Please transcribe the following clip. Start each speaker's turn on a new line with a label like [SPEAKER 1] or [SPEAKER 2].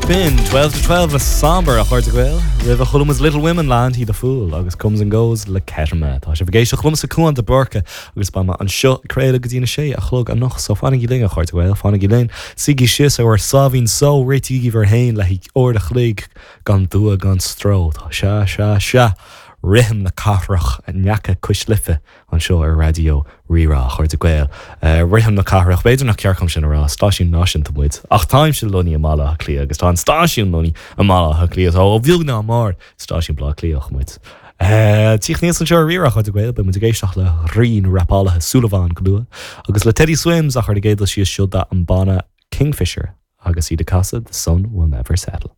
[SPEAKER 1] B'in 12 to 12 le Somber, a chairde Gael. Roimhe chuala muid Little Women le Anti the Fool agus Comes and Goes le Kettama. Tá sibh ag éisteacht liomsa Cúán de Búrca agus beidh mé anseo ag craoladh go dtí na sé a chlog anocht so fanaigí linn a chairde Gael, fanaigí linn. Suígí síos ar bhur sáimhín só, réitígí bhur fhéin le haghaidh uair a chloig gan dua gan stró. Tá sea, sea, sea, rithim na cathrach in aice Cois Life anseo ar Raidió Rí-Rá, a chairde Gael. Rithim na cathrach, b'fhéidir nach ceart dom sin a rá, stáisiún náisiúnta muid, ach táimse lonnaithe i mBaile Átha Cliath agus tá an stáisiún lonnaithe i mBaile Átha Cliath, so ó bheag ná mór, stáisiún Baile Átha Cliathach muid. Tíocht aníos anseo ar Rí-Rá, a chairde Gael, beidh muid ag éisteacht le rí na rapálaithe Súilleabhán go luath, agus le Teddy Swims ach ar an gcéad dul síos seo an banna Kingfisher agus iad ag casadh The Sun Will Never Settle.